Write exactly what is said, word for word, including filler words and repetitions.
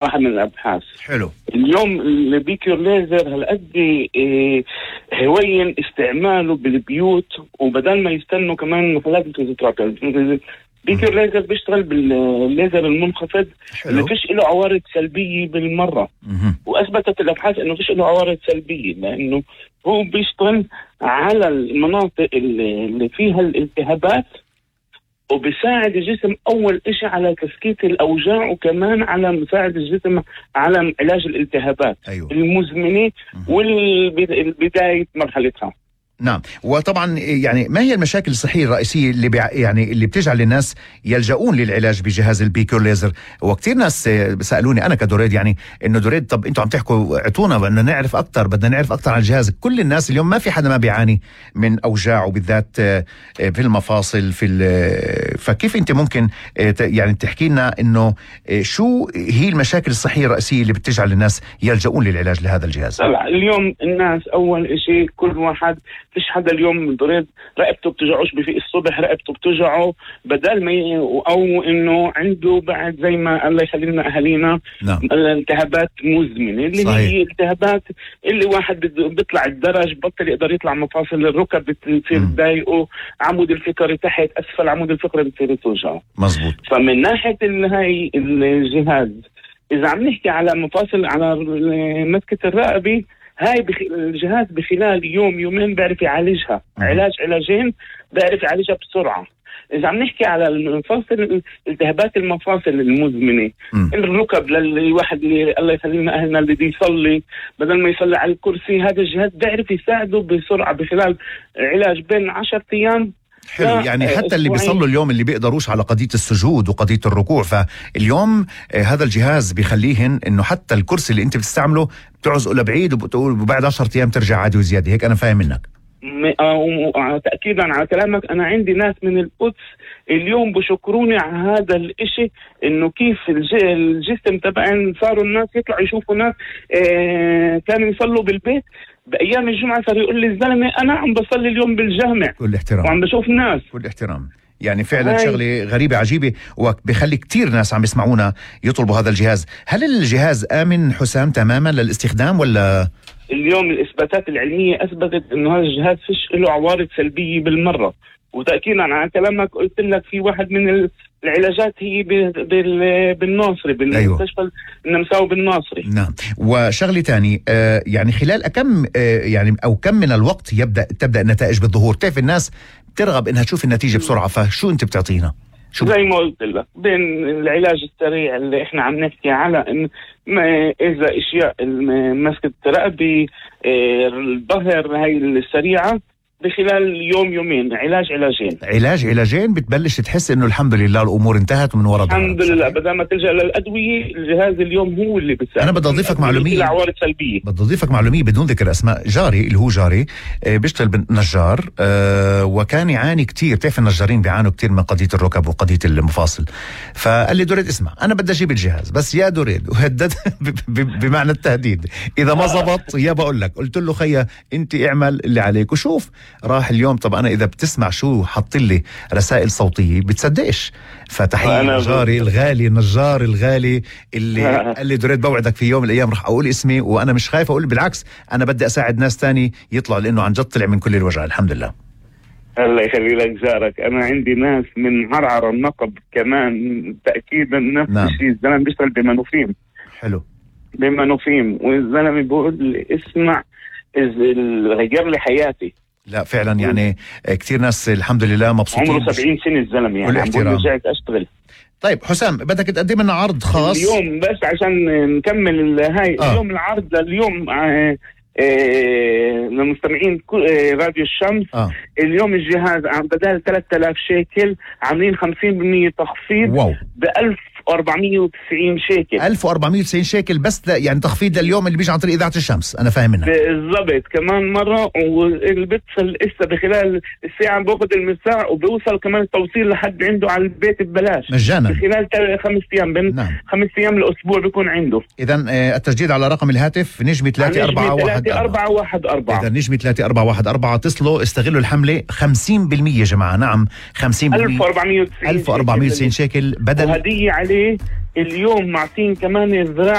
واحد من الابحاث. حلو. اليوم البيكيور ليزر هالقد إيه هوين استعماله بالبيوت، وبدل ما يستنوا كمان محلات الفيزيوثيرابي. بيكيور ليزر بيشتغل بالليزر المنخفض اللي فيش له عوارض سلبيه بالمره. مه. واثبتت الابحاث انه فيش له عوارض سلبيه، لانه هو بيشتغل على المناطق اللي فيها الالتهابات، وبيساعد الجسم أول إشي على تسكيت الأوجاع، وكمان على مساعد الجسم على علاج الالتهابات أيوه. المزمنة والبداية مرحلتها. نعم. وطبعا يعني ما هي المشاكل الصحية الرئيسية اللي بيع يعني اللي بتجعل الناس يلجؤون للعلاج بجهاز البيكيور ليزر؟ وكتير ناس سألوني أنا كدوريد يعني إنه دوريد طب أنتوا عم تحكوا اعطونا بدنا نعرف أكتر، بدنا نعرف أكتر عن الجهاز. كل الناس اليوم ما في حدا ما بيعاني من أوجاع، وبالذات في المفاصل في فكيف أنت ممكن يعني تحكي لنا إنه شو هي المشاكل الصحية الرئيسية اللي بتجعل الناس يلجؤون للعلاج لهذا الجهاز؟ اليوم الناس أول إشي كل واحد فيش حدا اليوم بريد رقبته بتوجعوش بفيق الصبح، رقبته بتوجعه بدل ما ي... او انه عنده بعد زي ما الله يخلي لنا اهالينا نعم. الالتهابات مزمنه اللي صحيح. هي التهابات اللي واحد بيطلع الدرج بطل يقدر يطلع مفاصل الركب بتصير تضايقه، عمود الفقري تحت اسفل عمود الفقري بتصير توجعه. مزبوط. فمن ناحيه هاي الجهاز اذا عم نحكي على مفاصل على مسكه الرقبه، هاي بخ... الجهاز بخلال يوم يومين بيعرف يعالجها، علاج علاجين بيعرف يعالجها بسرعة. إذا عم نحكي على المفاصل التهابات المفاصل المزمنة، م. الركب للواحد اللي الله يخلينا أهلنا اللي بده يصلي بدل ما يصلي على الكرسي، هذا الجهاز بيعرف يساعده بسرعة بخلال علاج بين عشرة أيام. حلو. يعني حتى اللي بيصلوا اليوم اللي بيقدروش على قضية السجود وقضية الركوع، فاليوم هذا الجهاز بيخليهن انه حتى الكرسي اللي انت بتستعمله بتعزقه لبعيد وبتقول وبعد عشرة ايام ترجع عادي وزيادة. هيك انا فاهم منك. تأكيدا على كلامك، انا عندي ناس من القدس اليوم بشكروني على هذا الاشي، انه كيف الجسم تبعين صاروا الناس يطلعوا يشوفوا ناس اه كانوا يصلوا بالبيت بأيام الجمعة، صار يقول لي الزلمة أنا عم بصلي اليوم بالجامع. كل احترام. وعم بشوف ناس. كل احترام. يعني فعلا هاي. شغلة غريبة عجيبة، وبيخلي كتير ناس عم يسمعونا يطلبوا هذا الجهاز. هل الجهاز آمن حسام تماما للاستخدام ولا؟ اليوم الإثباتات العلمية أثبتت إنه هذا الجهاز فيش له عوارض سلبية بالمرة. وتأكيدا على كلامك قلت لك في واحد من العلاجات هي بالناصري بالمستشفى أيوه. النمساوي بالناصري. نعم. وشغلة تاني آه يعني خلال كم آه يعني أو كم من الوقت يبدأ تبدأ النتائج بالظهور؟ كيف الناس بترغب إنها تشوف النتيجة بسرعة؟ فشو أنت بتعطينا؟ شو زي ما قلت لك بين العلاج السريع اللي احنا عم نحكي على إن ما إذا إشياء مسكة رقبة الظهر هاي السريعة بخلال يوم يومين علاج علاجين علاج علاجين بتبلش تحس انه الحمد لله الامور انتهت ومن وراء الحمد لله. بدل ما تلجأ للادويه الجهاز اليوم هو اللي بيساعد. انا بدي اضيفك معلوميه عوارض سلبيه بدي اضيفك معلوميه بدون ذكر اسماء. جاري اللي هو جاري بيشتغل بالنجار وكان يعاني كتير، بتعرف النجارين بيعانوا كتير من قضيه الركب وقضيه المفاصل، فقال لي دوريد اسمع انا بدي اجيب الجهاز بس يا دوريد، وهدد بمعنى التهديد اذا ما زبط يا بقول لك. قلت له خيا انت اعمل اللي عليك وشوف. راح اليوم. طب انا اذا بتسمع شو حط لي رسائل صوتيه بتصدقش. فتحيه نجاري الغالي النجار الغالي اللي قال لي دوريد بوعدك في يوم من الايام راح اقول اسمي، وانا مش خايف اقول، بالعكس انا بدي اساعد ناس تاني يطلعوا، لانه عن جد طلع من كل الوجع الحمد لله. الله يخلي لك جارك. انا عندي ناس من عرعر النقب كمان تاكيدا نفس نعم. الشيء. الزلمه بيشتغل بمنوفيم. حلو. بمنوفيم والزلمه بيقول لي اسمع غير لي حياتي. لا فعلا يعني كتير ناس الحمد لله مبسوطين. عمره سبعين سنة الزلمة يعني. عم رجعت أشتغل. طيب حسام بدك تقدم لنا عرض خاص اليوم بس عشان نكمل هاي آه. اليوم العرض لليوم آه آه للمستمعين آه راديو الشمس آه. اليوم الجهاز عم بدال ثلاثة آلاف شيكل عاملين خمسين بالمية تخفيض ب ألف وأربعمية وتسعين شيكل. ألف وأربعمية وتسعين شيكل بس يعني تخفيض لليوم اللي بيجي عن طريق إذاعة الشمس. أنا فاهم منك بالضبط. كمان مرة واللي بيتصل إسا بخلال الساعة بوقت المساء وبيوصل كمان التوصيل لحد عنده على البيت ببلاش مجانا بخلال خمس أيام بين نعم. خمس أيام الأسبوع بيكون عنده. إذا التسجيل على رقم الهاتف نجمة ثلاثة أربعة واحد أربعة واحد أربعة. إذا نجمة ثلاثة أربعة واحد أربعة اتصلوا استغلوا الحملة خمسين بالمية يا جماعة. نعم خمسين بالمية ألف وأربعمية وتسعين ألف وأربعمية وتسعين شيكل بدل وهدية عليه اليوم معطين كمان الذراع